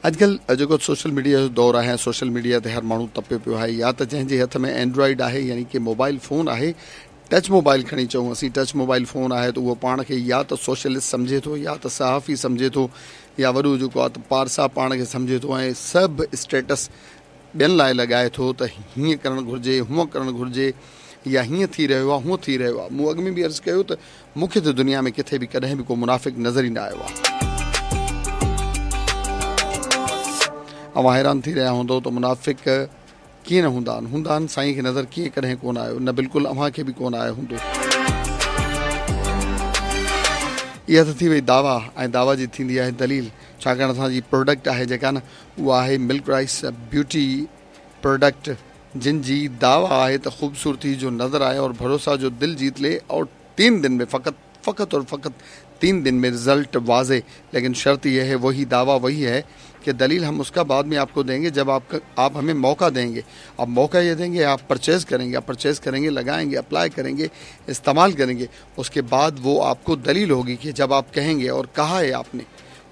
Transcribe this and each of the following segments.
اڄڪلهه جيڪو social media جو دور آهي ۽ سوشل ميڊيا تي هر ماڻهو تپيو پيو آهي يا ته جنهن جي هٿ ۾ اينڊرائيڊ آهي يعني ڪي موبائل فون آهي ٽچ موبائل کڻي چئون اسين ٽچ موبائل فون آهي ته اهو پاڻ کي يا ته سوشلسٽ سمجهي ٿو يا ته صحافي سمجهي ٿو يا وڏو جيڪو آهي ته پارسا پاڻ کي سمجهي ٿو ۽ سڀ اسٽيٽس ٻين لاء لڳائي ٿو ته هيئن ڪرڻ گهرجي، هونئن ڪرڻ گهرجي يا هيئن ٿي رهيو آهي، هونئن ٿي رهيو آهي. مون اڳ ۾ به عرض ڪيو ته مون کي ته دنيا ۾ ڪٿي به ڪڏهن به ڪو منافق نظر ئي نه آيو آهي. اوهان حيران ٿي رهيا هوندؤ ته منافق ڪيئن نه هوندا آهن؟ هوندا آهن، سائين کي نظر ڪيئن ڪڏهن ڪونه آيو؟ نه بلڪل اوهان کي به ڪونه آيو هوندو. اها ته ٿي وئي دعويٰ ۽ دعويٰ جي ٿيندي آهي دليل، ڇاڪاڻ اسان جي پراڊڪٽ آهي جيڪا نه اها آهي ملڪ رائس بيوٽي پراڊڪٽ جن جي دعويٰ آهي ته خوبصورتي جو نظر آئي اور ڀروسا جو دل جيت لي اور تين دن ۾ فقط فقط اور فقط تين دن ۾ رزلٽ واضح ليڪن شرط يه هي وهي دعويٰ وهي هي ڪه دليل هم اس ڪا بعد ۾ آپ ڪو دينگي جب آپ آپ همين موقع دينگي اب موقع يه دينگي آپ پرچيز ڪرينگي آپ پرچيز ڪرينگي لگائينگي اپلائي ڪرينگي استعمال ڪرينگي اس ڪي بعد وو آپ ڪو دليل هوگي ڪه جب آپ ڪهينگي اور ڪها هي آپ ني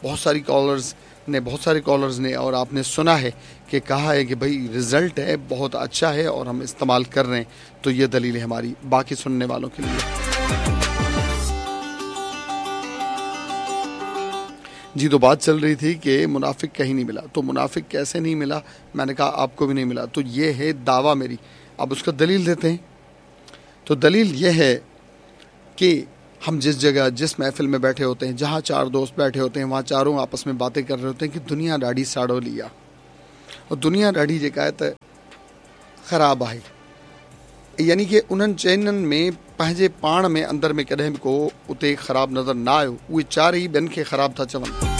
بهت ساري ڪالرز ने बहुत सारे कॉलर्स ने और आपने सुना है कि कहा है कि भाई रिजल्ट है बहुत अच्छा है और हम इस्तेमाल कर रहे हैं तो ये दलील है हमारी बाकी सुनने वालों के लिए। जी तो बात चल रही थी कि मुनाफिक कहीं नहीं मिला, तो मुनाफिक कैसे नहीं मिला? मैंने कहा आपको भी नहीं मिला। तो ये है दावा मेरी, अब उसका दलील देते हैं। तो दलील ये है कि हम जिस जगह जिस महफिल में बैठे होते हैं, जहाँ चार दोस्त बैठे होते हैं, वहाँ चारों आपस में बातें कर रहे होते हैं कि दुनिया ॾाढी साड़ोली आहे और दुनिया ॾाढी जेका आहे त ख़राब आहे, यानी कि उन्हनि चइननि में पंहिंजे पाण में अंदरि में कॾहिं बि को उते ख़राब नज़र न आयो, उहे चार ई ॿियनि खे ख़राब था चवनि।